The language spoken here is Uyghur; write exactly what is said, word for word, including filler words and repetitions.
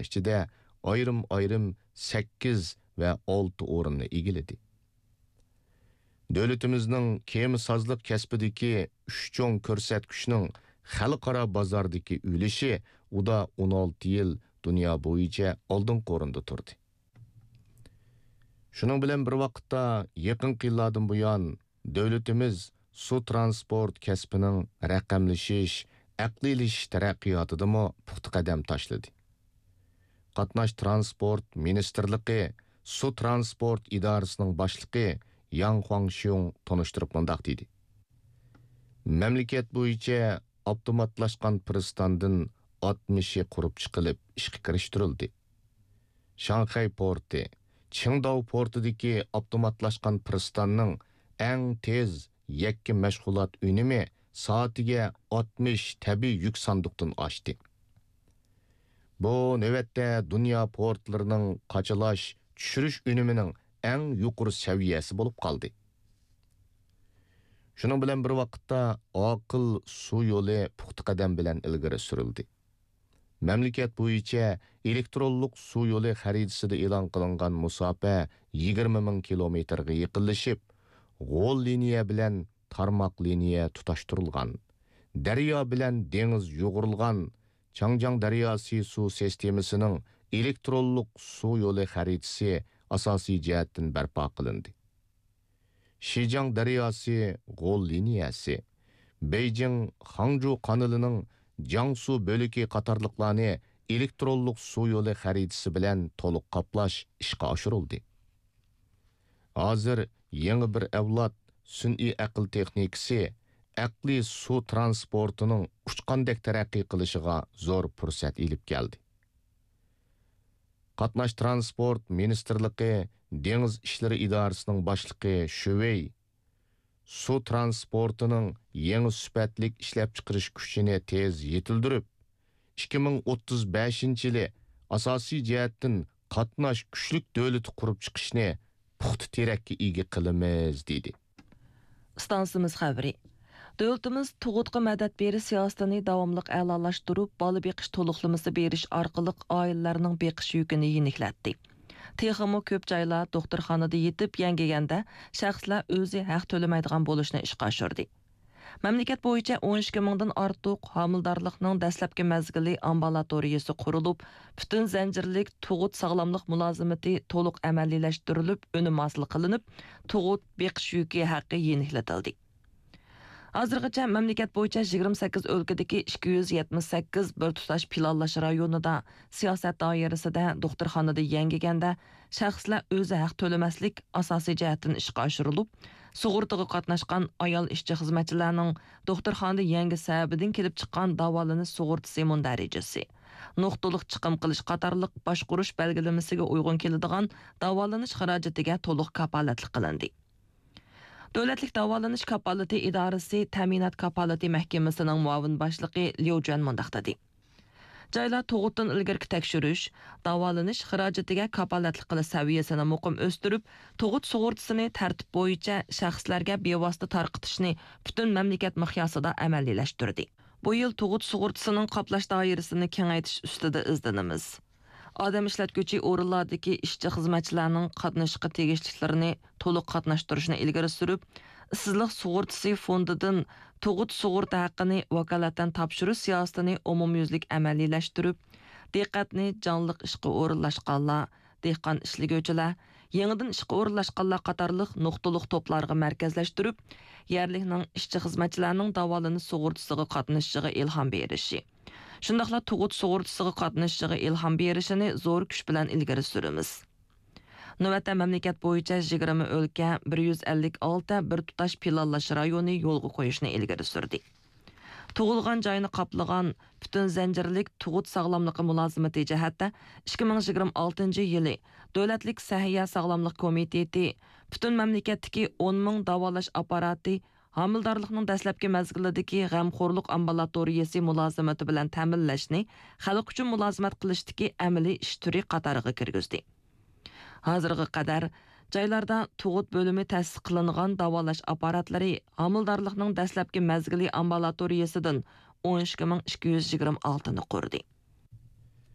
ئىچىدە ئايرىم-ئايرىم سەككىز ۋە ئالتە ئورۇننى ئىگىلىدى. دۆلىتىمىزنىڭ كېمىسازلىق كەسپىدىكى ئۈچ چوڭ كۆرسەتكۈچنىڭ خەلقئارا بازاردىكى ئۈلۈشى ئۇدا ئون ئالتە يىل دۇنيا بويىچە ئالدىنقى ئورۇندا تۇردى. شۇنىڭ بىلەن بىر ۋاقىتتا، يېقىنقى يىللاردىن بۇيان، دۆلىتىمىز سۇ ترانسپورت كەسپىنىڭ رەقەملىشىش، ئەقلىيلىشىش تەرەققىياتىدىمۇ پۇختا قەدەم تاشلىدى. قاتناش ترانسپورت مىنىستىرلىقى سۇ ترانسپورت ئىدارىسىنىڭ باشلىقى ياڭ خۇاڭشيۇڭ تونۇشتۇرۇپ مۇنداق دېدى: مەملىكەت بويىچە ئاپتوماتلاشقان پىرىستاندىن ئاتمىشى قۇرۇپ چىقىلىپ ئىشقا كىرىشتۈرۈلدى. شاڭخەي پورتى، چىڭداۋ پورتىدىكى ئاپتوماتلاشقان پىرىستاننىڭ ئەڭ تېز يەككە مەشغۇلات ئۈنۈمى سائىتىگە ئاتمىش تەبىئىي يۈك ساندۇقتىن ئاشتى. بۇ نۆۋەتتە دۇنيا پورتلىرىنىڭ قاچىلاش، چۈشۈرۈش ئۈنۈمىنىڭ ئەڭ يۇقىرى سەۋىيەسى بولۇپ قالدى. شۇنىڭ بىلەن بىر ۋاقىتتا، ئاقىل سۇ يولى پۇختا قەدەم بىلەن ئىلگىرى سۈرۈلدى. مەملىكەت بويىچە ئېلېكترونلۇق سۇ يولى خەرىتىسىدە ئېلان قىلىنغان مۇساپە يىگىرمە مىڭ كىلومېتىرغا يېقىنلىشىپ، غول لىنىيە بىلەن تارماق لىنىيە تۇتاشتۇرۇلغان، دەريا بىلەن دېڭىز يۇغۇرۇلغان، چاڭجياڭ دەرياسى سۇ سىستېمىسىنىڭ ئېلېكترونلۇق سۇ يولى خەرىتىسى ئاساسىي جەھەتتىن بەرپا قىلىندى. شىجياڭ دەرياسى غول لىنىيەسى، بېيجىڭ خاڭجۇ قانىلىنىڭ جياڭسۇ بۆلىكى قاتارلىقلارنى ئېلېكترونلۇق سۇ يولى خەرىتىسى بىلەن تولۇق قاپلاش ئىشقا ئاشۇرۇلدى. ھازىر يېڭى بىر ئەۋلاد سۈنئىي ئەقىل تېخنىكىسى ئەقلىي سۇ ترانسپورتىنىڭ ئۇچقاندەك تەرەققىي قىلىشىغا زور پۇرسەت ئېلىپ كەلدى. قاتناش ترانسپورت مىنىستىرلىقى دېڭىز ئىشلىرى ئىدارىسىنىڭ باشلىقى شۈ ۋېي سۇ ترانسپورتىنىڭ يېڭى سۈپەتلىك ئىشلەپچىقىرىش كۈچىنى تېز يېتىلدۈرۈپ، ئىككى مىڭ ئوتتۇز بەشىنچى يىلى ئاساسىي جەھەتتىن قاتناش كۈچلۈك دۆلىتى قۇرۇپ چىقىشنى پۇختا تىرەككە ئىگە قىلىمىز، دېدى. ئىستانسىمىز خەۋىرى. دۆلىتىمىز تۇغۇتقا مەدەت بېرىش سىياسىتىنى داۋاملىق ئەلالاشتۇرۇپ، بالا بېقىش تولۇقلىمىسى بېرىش ئارقىلىق ئائىلىلەرنىڭ بېقىش يۈكىنى يېنىكلەتتى. تېخىمۇ كۆپ جايلار دوختۇرخانىدا يېتىپ يەڭگىگەندە شەخسلەر ئۆزى ھەق تۆلىمەيدىغان بولۇشنى ئىشقا ئاشۇردى. مەملىكەت بويىچە ئون ئىككى مىڭدىن ئارتۇق ھامىلىدارلىقنىڭ دەسلەپكى مەزگىلى ئامبۇلاتورىيەسى قۇرۇلۇپ، پۈتۈن زەنجىرلىك تۇغۇت ساغلاملىق مۇلازىمىتى تولۇق ئەمەلىيلەشتۈرۈلۈپ، ئۈنۈم ھاسىل قىلىنىپ، تۇغۇت بېقىش يۈكى ھەققى يېنىكلىتىلدى. ھازىرغىچە مەملىكەت بويىچە يىگىرمە سەككىز ئۆلكىدىكى ئىككى يۈز يەتمىش سەككىز بىر تۇتاش پىلانلاش رايونىدا سىياسەت دائىرىسىدە دوختۇرخانىدا يەڭگىگەندە شەخسلەر ئۆزى ھەق تۆلىمەسلىك ئاساسىي جەھەتتىن ئىشقا ئاشۇرۇلۇپ، سۇغۇرتىغا قاتناشقان ئايال ئىشچى-خىزمەتچىلەرنىڭ دوختۇرخانىدا يەڭگى سەۋەبىدىن كېلىپ چىققان داۋالىنىش سۇغۇرتىسى مۇندەرىجىسى، نۇقتىلىق چىقىم قىلىش قاتارلىق باشقۇرۇش بەلگىلىمىسىگە ئۇيغۇن كېلىدىغان داۋالىنىش خىراجىتىگە تولۇق كاپالەتلىك قىلىندى. دۆلەتلىك داۋالىنىش كاپالىتى ئىدارىسى تەمىنات كاپالىتى مەھكىمىسىنىڭ مۇئاۋىن باشلىقى ليۇ جۈەن مۇنداق دېدى: جايلار تۇغۇتتىن ئىلگىرىكى تەكشۈرۈش، داۋالىنىش خىراجىتىگە كاپالەتلىك قىلىش سەۋىيەسىنى مۇقىم ئۆستۈرۈپ، تۇغۇت سۇغۇرتىسىنى تەرتىپ بويىچە شەخسلەرگە بىۋاسىتە تارقىتىشنى پۈتۈن مەملىكەت مىقياسىدا ئەمەلىيلەشتۈردى. بۇ يىل تۇغۇت سۇغۇرتىسىنىڭ قاپلاش دائىرىسىنى كېڭەيتىش ئۈستىدە ئىزدىنىمىز. ئادەم ئىشلەتكۈچى ئورۇنلاردىكى ئىشچى-خىزمەتچىلەرنىڭ قاتنىشىشقا تېگىشلىكلىرىنى تولۇق قاتناشتۇرۇشنى ئىلگىرى سۈرۈپ، ئىشسىزلىق سۇغۇرتىسى فوندىدىن تۇغۇت سۇغۇرتا ھەققىنى ۋاكالەتەن تاپشۇرۇش سىياسىتىنى ئومۇميۈزلۈك ئەمەلىيلەشتۈرۈپ، دىققەتنى جانلىق ئىشقا ئورۇنلاشقانلار، دېھقان ئىشلىگۈچىلەر، يېڭىدىن ئىشقا ئورۇنلاشقانلار قاتارلىق نۇقتىلىق توپلارغا مەركەزلەشتۈرۈپ، يەرلىكنىڭ ئىشچى-خىزمەتچىلەرنىڭ داۋالىنىش سۇغۇرتىسىغا قاتنىشىشىغا ئىلھام بېرىشى، شۇنداقلا تۇغۇت سۇغۇرتىسىغا قاتنىشىشىغا ئىلھام بېرىشىنى زور كۈچ بىلەن ئىلگىرى سۈرىمىز. نۆۋەتتە مەملىكەت بويىچە يىگىرمە ئۆلكە، بىر يۈز ئەللىك ئالتە بىر تۇتاش پىلانلاش رايونى يولغا قويۇشنى ئىلگىرى سۈردى. تۇغۇلغان جاينى قاپلىغان پۈتۈن زەنجىرلىك تۇغۇت ساغلاملىقى مۇلازىمىتى جەھەتتە ئىككى مىڭ يىگىرمە ئالتىنچى يىلى دۆلەتلىك سەھىيە ساغلاملىق كومىتېتى پۈتۈن مەملىكەتتىكى ئون مىڭ داۋالاش ئاپپاراتى ھامىلىدارلىقنىڭ دەسلەپكى مەزگىلىدىكى غەمخورلۇق ئامبۇلاتورىيەسى مۇلازىمىتى بىلەن تەمىنلەشنى خەلق ئۈچۈن مۇلازىمەت قىلىشتىكى ئەمەلىي ئىش تۈرى قاتارىغا كىرگۈزدى. ھازىرغا قەدەر جايلاردا تۇغۇت بۆلۈمى تەسىس قىلىنغان داۋالاش ئاپپاراتلىرى ھامىلىدارلىقنىڭ دەسلەپكى مەزگىلى ئامبۇلاتورىيەسىدىن ئون ئىككى مىڭ ئىككى يۈز يىگىرمە ئالتىنى قۇردى.